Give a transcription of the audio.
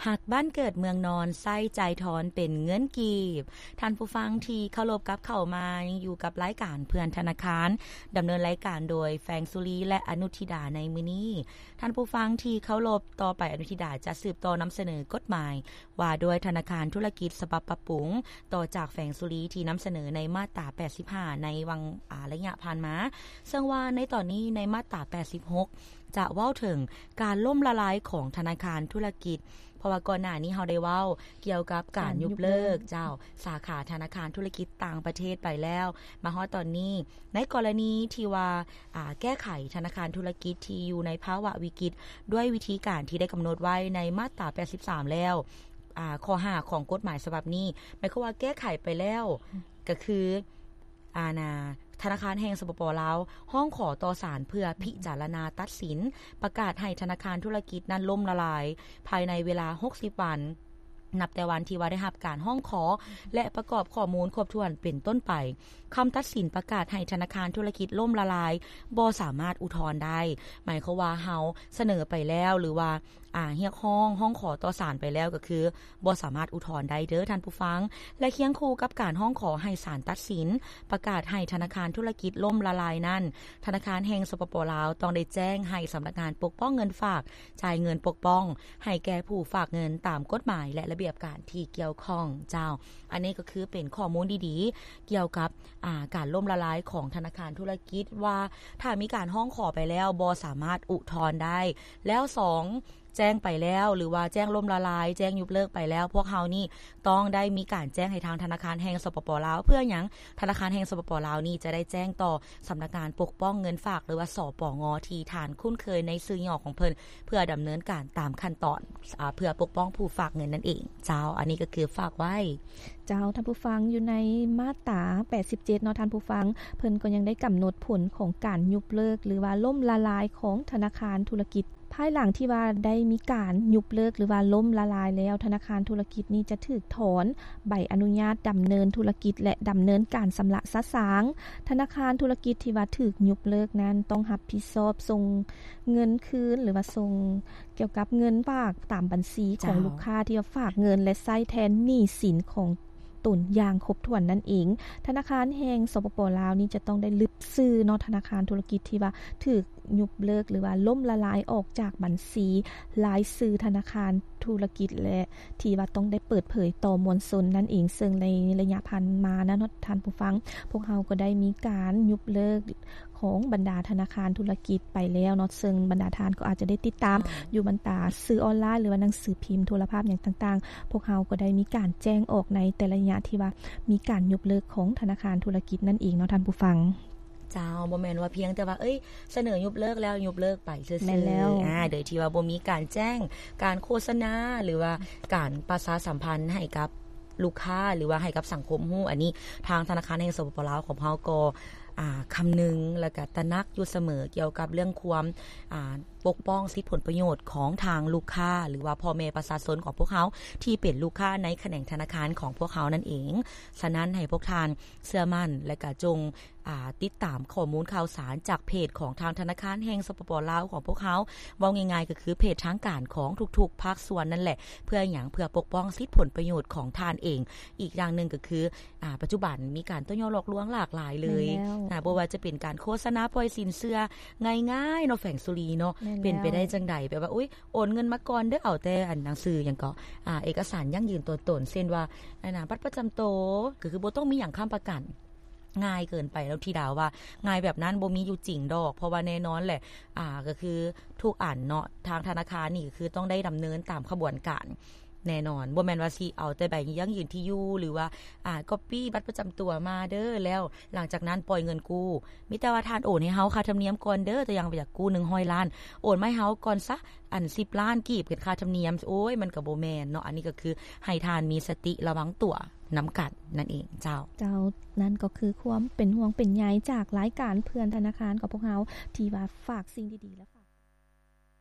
ຮັກບ້ານເກີດເມືອງນອນ ໃຊ້ຈ່າຍທອນເປັນເງິນກີບ. ທ່ານຜູ້ຟັງທີ່ເຄົາລົບ, ກັບເຂົ້າມາຍັງຢູ່ກັບລາຍການເພື່ອນທະນາຄານ, ດຳເນີນລາຍການໂດຍແຟງສຸລີ ແລະ ອະນຸທິດາໃນມື້ນີ້. ທ່ານຜູ້ຟັງທີ່ເຄົາລົບ, ຕໍ່ໄປອະນຸທິດາຈະສືບຕໍ່ນຳສະເໜີກົດໝາຍວ່າດ້ວຍທະນາຄານທຸລະກິດສະບັບປັບປຸງ ຕໍ່ຈາກແຟງສຸລີທີ່ນຳສະເໜີໃນມາດຕາແປດສິບຫ້າໃນຫວ່າງ ອາ ໄລຍະຜ່ານມາ, ເຊິ່ງວ່າໃນຕອນນີ້ໃນມາດຕາແປດສິບຫົກ ຈະເວົ້າເຖິງການລົ້ມລະລາຍຂອງທະນາຄານທຸລະກິດ, ເພາະວ່າກ່ອນໜ້ານີ້ເຮົາໄດ້ເວົ້າກ່ຽວກັບການ ການ ຍຸບເລີກ ຍຸບເລີກ ເຈົ້າ ສາຂາທະນາຄານທຸລະກິດຕ່າງປະເທດໄປແລ້ວ. ມາຮອດຕອນນີ້ ໃນກໍລະນີທີ່ວ່າ ອາ ແກ້ໄຂທະນາຄານທຸລະກິດທີ່ຢູ່ໃນພາວະວິກິດ ດ້ວຍວິທີການທີ່ໄດ້ກຳນົດໄວ້ໃນມາດຕາແປດສິບສາມແລ້ວ, ອາ ຂໍ້ຫ້າຂອງກົດໝາຍສະບັບນີ້ ໝາຍຄວາມວ່າແກ້ໄຂໄປແລ້ວ ກໍຄື ອານາ ທະນາຄານແຫ່ງ ສປປ ລາວ ຮ້ອງຂໍຕໍ່ສານເພື່ອພິຈາລະນາຕັດສິນ ປະກາດໃຫ້ທະນາຄານທຸລະກິດນັ້ນລົ້ມລະລາຍ ພາຍໃນເວລາຫົກສິບວັນ ນັບແຕ່ວັນທີ່ວ່າໄດ້ຮັບການຮ້ອງຂໍ ແລະ ປະກອບຂໍ້ມູນຄົບຖ້ວນເປັນຕົ້ນໄປ. ຄຳຕັດສິນປະກາດໃຫ້ທະນາຄານທຸລະກິດລົ້ມລະລາຍ ບໍ່ສາມາດອຸທອນໄດ້. ໝາຍຄວາມວ່າເຮົາສະເໜີໄປແລ້ວ ຫຼືວ່າ ອາ ຮຽກຮ້ອງ ຮ້ອງຂໍຕໍ່ສານໄປແລ້ວ ກໍຄືບໍ່ສາມາດອຸທອນໄດ້ເດີ້ທ່ານຜູ້ຟັງ. ແລະ ຄຽງຄູ່ກັບການຮ້ອງຂໍໃຫ້ສານຕັດສິນປະກາດໃຫ້ທະນາຄານທຸລະກິດລົ້ມລະລາຍນັ້ນ, ທະນາຄານແຫ່ງ ສປປ ລາວ ຕ້ອງໄດ້ແຈ້ງໃຫ້ສຳນັກງານປົກປ້ອງເງິນຝາກ ຈ່າຍເງິນປົກປ້ອງໃຫ້ແກ່ຜູ້ຝາກເງິນຕາມກົດໝາຍ ແລະ ລະບຽບການທີ່ກ່ຽວຂ້ອງ. ເຈົ້າ ອັນນີ້ກໍຄືເປັນຂໍ້ມູນດີໆ ກ່ຽວກັບ ອາ ການລົ້ມລະລາຍຂອງທະນາຄານທຸລະກິດ ວ່າຖ້າມີການຮ້ອງຂໍໄປແລ້ວບໍ່ສາມາດອຸທອນໄດ້. ແລ້ວສອງ ແຈ້ງໄປແລ້ວ ຫຼືວ່າແຈ້ງລົ້ມລະລາຍ ແຈ້ງຍຸບເລີກໄປແລ້ວ ພວກເຮົານີ້ຕ້ອງໄດ້ມີການແຈ້ງໃຫ້ທາງທະນາຄານແຫ່ງ ສປປ ລາວ. ເພື່ອຫຍັງ? ທະນາຄານແຫ່ງ ສປປ ລາວນີ້ຈະໄດ້ແຈ້ງຕໍ່ສຳນັກງານປົກປ້ອງເງິນຝາກ ຫຼືວ່າ ສປງ ທີ່ທ່ານຄຸ້ນເຄີຍໃນຊື່ຫຍໍ້ຂອງເພິ່ນ ເພື່ອດຳເນີນການຕາມຂັ້ນຕອນ ອາ ເພື່ອປົກປ້ອງຜູ້ຝາກເງິນນັ້ນເອງ. ເຈົ້າ ອັນນີ້ກໍຄືຝາກໄວ້. ເຈົ້າ ທ່ານຜູ້ຟັງ, ຢູ່ໃນມາດຕາແປດສິບເຈັດເນາະ ທ່ານຜູ້ຟັງ, ເພິ່ນກໍຍັງໄດ້ກຳນົດຜົນຂອງການຍຸບເລີກ ຫຼືວ່າລົ້ມລະລາຍຂອງທະນາຄານທຸລະກິດ. ພາຍຫຼັງທີ່ວ່າໄດ້ມີການຍຸບເລີກ ຫຼືວ່າລົ້ມລະລາຍແລ້ວ, ທະນາຄານທຸລະກິດນີ້ຈະຖືກຖອນໃບອະນຸຍາດດຳເນີນທຸລະກິດ ແລະ ດຳເນີນການຊຳລະສະສາງ. ທະນາຄານທຸລະກິດທີ່ວ່າຖືກຍຸບເລີກນັ້ນ ຕ້ອງຮັບຜິດຊອບສົ່ງເງິນຄືນ ຫຼືວ່າສົ່ງ ກ່ຽວກັບເງິນຝາກຕາມບັນຊີຂອງ ເຈົ້າ ລູກຄ້າທີ່ວ່າຝາກເງິນ ແລະ ໃຊ້ແທນໜີ້ສິນຂອງຕົນຢ່າງຄົບຖ້ວນນັ້ນເອງ. ທະນາຄານແຫ່ງ ສປປ ລາວ ນີ້ຈະຕ້ອງໄດ້ລຶບຊື່ເນາະ ທະນາຄານທຸລະກິດທີ່ວ່າຖືກຍຸບເລີກ ຫຼືວ່າລົ້ມລະລາຍອອກຈາກບັນຊີລາຍຊື່ທະນາຄານທຸລະກິດ ແລະ ທີ່ວ່າຕ້ອງໄດ້ເປີດເຜີຍຕໍ່ມວນຊົນນັ້ນເອງ. ເຊິ່ງໃນໄລຍະຜ່ານມານັ້ນເນາະ ທ່ານຜູ້ຟັງ, ພວກເຮົາກໍໄດ້ມີການຍຸບເລີກ ຂອງບັນດາທະນາຄານທຸລະກິດໄປແລ້ວເນາະ, ເຊິ່ງບັນດາທ່ານກໍອາດຈະໄດ້ຕິດຕາມ ເຈົ້າ ຢູ່ບັນດາສື່ອອນລາຍ ຫຼືວ່າໜັງສືພິມ, ໂທລະພາບຫຍັງຕ່າງໆ, ພວກເຮົາກໍໄດ້ມີການແຈ້ງອອກໃນແຕ່ລະໄລຍະທີ່ວ່າມີການຍົກເລີກຂອງທະນາຄານທຸລະກິດນັ້ນເອງເນາະທ່ານຜູ້ຟັງ. ເຈົ້າ, ບໍ່ແມ່ນວ່າພຽງແຕ່ວ່າ ເອີຍ ສະເໜີຍົກເລີກແລ້ວຍົກເລີກໄປຊື່ໆ. ແມ່ນແລ້ວ. ອາ, ໂດຍທີ່ວ່າບໍ່ມີການແຈ້ງ, ການໂຄສະນາ ຫຼືວ່າການປະຊາສຳພັນໃຫ້ກັບ ລູກຄ້າ ຫຼືວ່າໃຫ້ກັບສັງຄົມຮູ້. ອັນນີ້ທາງທະນາຄານແຫ່ງ ສປປ ລາວ ຂອງເຮົາກໍ ອາ ຄຳນຶງ ແລະ ກະຕະໜັກຢູ່ສະເໝີກ່ຽວກັບເລື່ອງຄວາມ ອາ ປົກປ້ອງສິດຜົນປະໂຫຍດຂອງທາງລູກຄ້າ ຫຼືວ່າພໍ່ແມ່ປະຊາຊົນຂອງພວກເຮົາ ທີ່ເປັນລູກຄ້າໃນຂະແໜງທະນາຄານຂອງພວກເຮົານັ້ນເອງ. ສະນັ້ນໃຫ້ພວກທ່ານເຊື່ອໝັ້ນ ແລະ ກະຈົ່ງ ອາ ຕິດຕາມຂໍ້ມູນຂ່າວສານຈາກເພຈຂອງທາງທະນາຄານແຫ່ງ ສປປ ລາວ ຂອງພວກເຮົາ. ເວົ້າງ່າຍໆກໍຄືເພຈທາງການຂອງທຸກໆພາກສ່ວນນັ້ນແຫຼະ. ເພື່ອຫຍັງ? ເພື່ອປົກປ້ອງສິດຜົນປະໂຫຍດຂອງທ່ານເອງ. ອີກຢ່າງໜຶ່ງກໍຄື ອາ ປັດຈຸບັນມີການຕົວະຍົວະຫຼອກລວງຫຼາກຫຼາຍເລີຍ. ແມ່ນແລ້ວ. ອາ ບໍ່ວ່າຈະເປັນການໂຄສະນາປ່ອຍສິນເຊື່ອງ່າຍໆເນາະ ແຟງສຸລີເນາະ. ແມ່ນແລ້ວ. ເປັນໄປໄດ້ຈັ່ງໃດ? ແບບວ່າ ອຸ້ຍ ໂອນເງິນມາກ່ອນເດີ້ ເອົາແຕ່ອັນໜັງສືຫຍັງເກາະ ອາ ເອກະສານຢັ້ງຢືນຕົວຕົນ ເຊັ່ນວ່າ ອັນນະ ບັດປະຈຳໂຕ ກໍຄືບໍ່ຕ້ອງມີຫຍັງຄ້ຳປະກັນ. ງ່າຍເກີນໄປແລ້ວທິດາວ່າ ງ່າຍແບບນັ້ນບໍ່ມີຢູ່ຈິງດອກ. ເພາະວ່າແນ່ນອນແຫຼະ ອາ ກໍຄືທຸກອັນເນາະ ທາງທະນາຄານນີ້ກໍຄືຕ້ອງໄດ້ດຳເນີນຕາມຂະບວນການແນ່ນອນ. ບໍ່ແມ່ນວ່າຊິເອົາແຕ່ໃບຢັ້ງຢືນທີ່ຢູ່ ຫຼືວ່າ ອາ ກັອບປີ້ບັດປະຈຳຕົວມາເດີ້ ແລ້ວຫຼັງຈາກນັ້ນປ່ອຍເງິນກູ້. ມີແຕ່ວ່າທ່ານໂອນໃຫ້ເຮົາຄ່າທຳນຽມກ່ອນເດີ້, ຕົວຢ່າງວ່າຢາກກູ້ໜຶ່ງຮ້ອຍລ້ານ ໂອນມາໃຫ້ເຮົາກ່ອນຊະ ອັນສິບລ້ານກີບເປັນຄ່າທຳນຽມ. ໂອ້ຍ ມັນກໍບໍ່ແມ່ນເນາະ. ອັນນີ້ກໍຄືໃຫ້ທ່ານມີສະຕິລະວັງຕົວນຳກັນນັ້ນເອງເຈົ້າ. ເຈົ້າ, ນັ້ນກໍຄືຄວາມເປັນຫ່ວງເປັນໃຍຈາກລາຍການເພື່ອນທະນາຄານຂອງພວກເຮົາ ທີ່ວ່າຝາກສິ່ງດີໆ ແລະ